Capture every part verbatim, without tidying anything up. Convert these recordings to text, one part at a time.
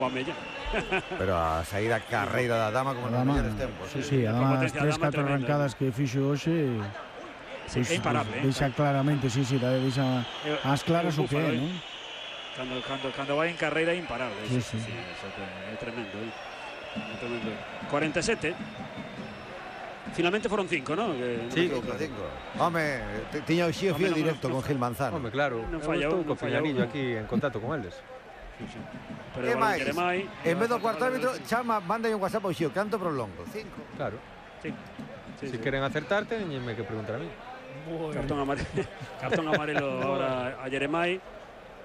Aubameyang. Pero a saída carreira da dama como nos mellores tempos. Sí, sí, además tres, catro arrancadas que fixo hoxe. Sí, é imparable. Deixa claramente, sí, sí, deixa as claras o que é, non? Cando, cando, cando vai en carreira é imparable. Sí, sí. sí, é tremendo, é tremendo. cuarenta e sete. Finalmente foron cinco, ¿no? Que sí, no claro. cinco. Home, tiña o xío fío directo con Gil Manzano. Home, claro. Non falla un, co Piñanillo aquí en contacto con eles. Sí, sí. Pero que máis? En vez do cuarto árbitro, chama, manda un WhatsApp ao xío, canto prolongo. Cinco. Claro. Sí. Sí, si sí. queren acertar, teñenme que preguntar a mí. Cartón amarelo, cartón amarelo ahora a Jeremai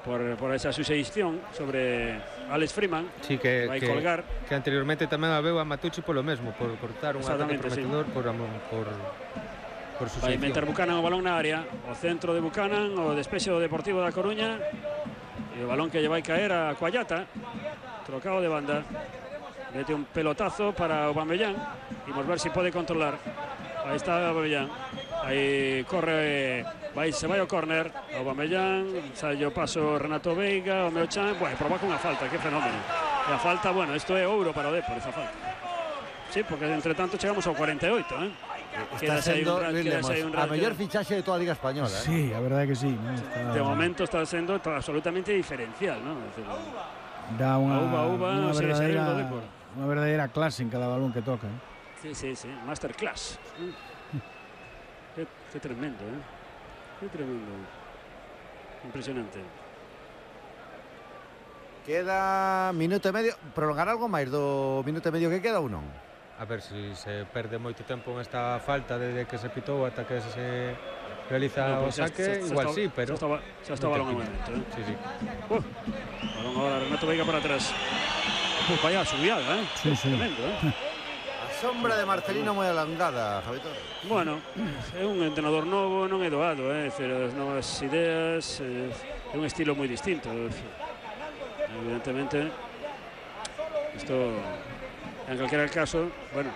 por, por esa suxestión sobre Alex Freeman. Sí, que, vai que, colgar. que anteriormente tamén a veu a Matucci polo mesmo, por cortar un ataque prometedor, sí. por, por, por suxestión. Vai meter Buchanan o balón na área, o centro de Buchanan, o despexe do Deportivo da Coruña, e o balón que lle vai caer a Coallata, trocado de banda. Mete un pelotazo para Aubameyang, imos ver se si pode controlar. Aí está Aubameyang. Aí corre, vai, se vai ao córner, Aubameyang, sai o paso Renato Veiga, o meu chan, bueno, provoca unha falta, que fenómeno. E a falta, bueno, isto é ouro para o Depor, esa falta. Sí, porque entre tanto chegamos ao cuarenta e oito, eh? Está sendo, Lemos, a mellor fichaxe de toda a Liga Española, eh? Sí, a verdade que sí, ¿no? Está... De momento está sendo absolutamente diferencial, ¿no? Decir, dá unha, uva, uva, unha verdadeira, Depor. unha verdadeira clase en cada balón que toca, eh? Sí, sí, sí, masterclass. Qué, qué tremendo, ¿eh? Qué tremendo. Impresionante. Queda minuto e medio. Prolongar algo máis do minuto e medio que queda ou non? A ver se si se perde moito tempo en esta falta desde que se pitou ata que se realiza no, pues o saque, xa, xa, igual xa, sí, pero... Xa estaba, xa estaba balón en momento, ¿eh? Sí, sí. Uh, balón ahora, Renato Veiga para atrás. Uh, vaya subiada, ¿eh? Sí, sí. Tremendo, ¿eh? Sombra de Marcelino moi alongada, Javito. Bueno, é un entrenador novo, non é doado, eh? Pero as novas ideas, é eh, un estilo moi distinto. Evidentemente, isto, en calquera caso, bueno,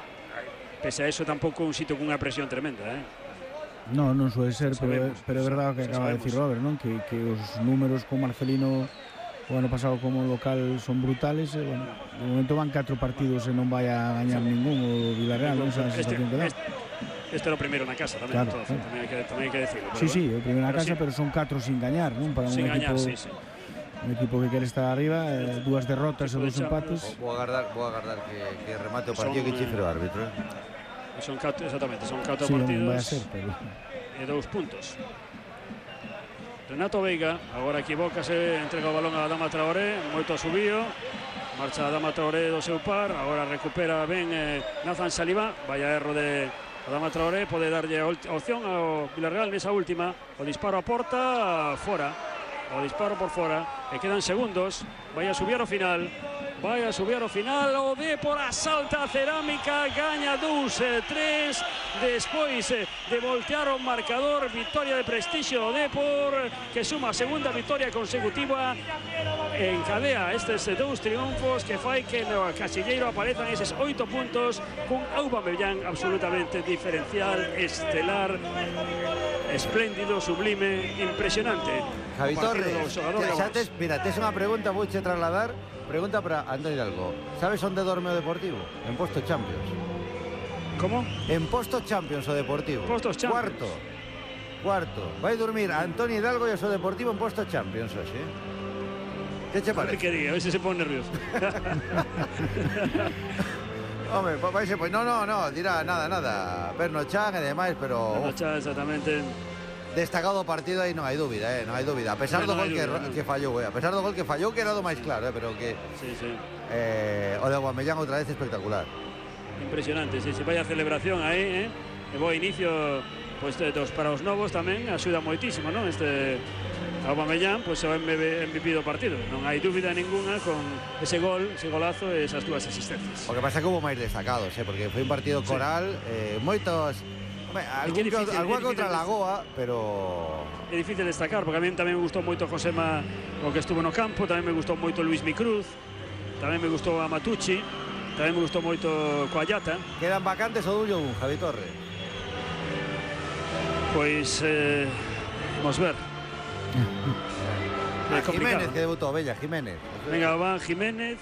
pese a eso tampouco un sitio cunha presión tremenda, eh? No, non suele ser, pero, pero é verdade o que acaba sabemos. de decir Robert, non? Que, que os números con Marcelino o ano pasado como local son brutales, e, bueno, de momento van catro partidos e non vai a gañar ningún o Villarreal, non esa este, sensación que dá. Este, este era o primeiro na casa tamén, claro, todo, claro. Tamén, hai que, tamén hai que decirlo. Sí, sí, o primeiro na casa, sí. pero son catro sin gañar, non? Para sin un gañar, equipo, sí, sí. un equipo que quere estar arriba, eh, dúas derrotas e dous empates. Vou agardar, vou agardar que, que remate o partido son, que chifre o árbitro. Eh? Son catro, exactamente, son catro sí, partidos. Non vai a ser, pero... E dous puntos. Renato Veiga, agora equivócase, entrega o balón a Adama Traoré, moito asubío, marcha Adama Traoré do seu par, agora recupera ben eh, Nathan Saliba, vaya erro de Adama Traoré, pode darlle a opción ao Villarreal nesa última, o disparo a porta, fora, o disparo por fora, e quedan segundos, vai a subir ao final, vai a subir ao final, o Depor asalta a Cerámica, gaña dous tres, despois de voltear o marcador, victoria de prestixio do Depor, que suma a segunda victoria consecutiva, encadea estes dous triunfos que fai que no casilleiro aparezan eses oito puntos cun Aubameyang absolutamente diferencial, estelar, espléndido, sublime, impresionante. Javi Torres, xa tes, mira, tes unha pregunta, vou che trasladar. Pregunta para Antonio Hidalgo. ¿Sabes onde dorme o Deportivo? En posto Champions. ¿Cómo? En posto Champions o Deportivo. Postos Champions. Cuarto. Cuarto. Vai dormir Antonio Hidalgo e o seu Deportivo en posto Champions hoxe. Que che parece? Que diga, a ver se se pone nervioso. Home, vai se pois. No, no, no, dirá nada, nada. Perno Chan e demais, pero... Perno Chan, exactamente. Destacado partido aí non hai dúbida, eh, non hai dúbida. A pesar do gol que, que fallou, eh, a pesar do gol que fallou, que era do máis claro, eh, pero que sí, sí. Eh, o de Aubameyang outra vez espectacular. Impresionante, sí, sí, vaya celebración aí, eh. E bo inicio pues, dos, para os novos tamén axuda moitísimo, non? Este Aubameyang, pois pues, o M V P do partido. Non hai dúbida ninguna con ese gol, ese golazo e esas dúas asistencias. O que pasa que hubo máis destacados, eh, porque foi un partido coral, sí. eh, moitos... Hombre, algún, difícil, algún contra a Lagoa, pero... É difícil destacar, porque a mí tamén me gustou moito Josema o que estuvo no campo, tamén me gustou moito Luis Micruz, tamén me gustou a Matucci, tamén me gustou moito Coallata. Quedan vacantes o Dullo un, Javi Torres? Pois, eh, vamos ver. A Jiménez, que debutou, Bella, Jiménez. Venga, va Jiménez.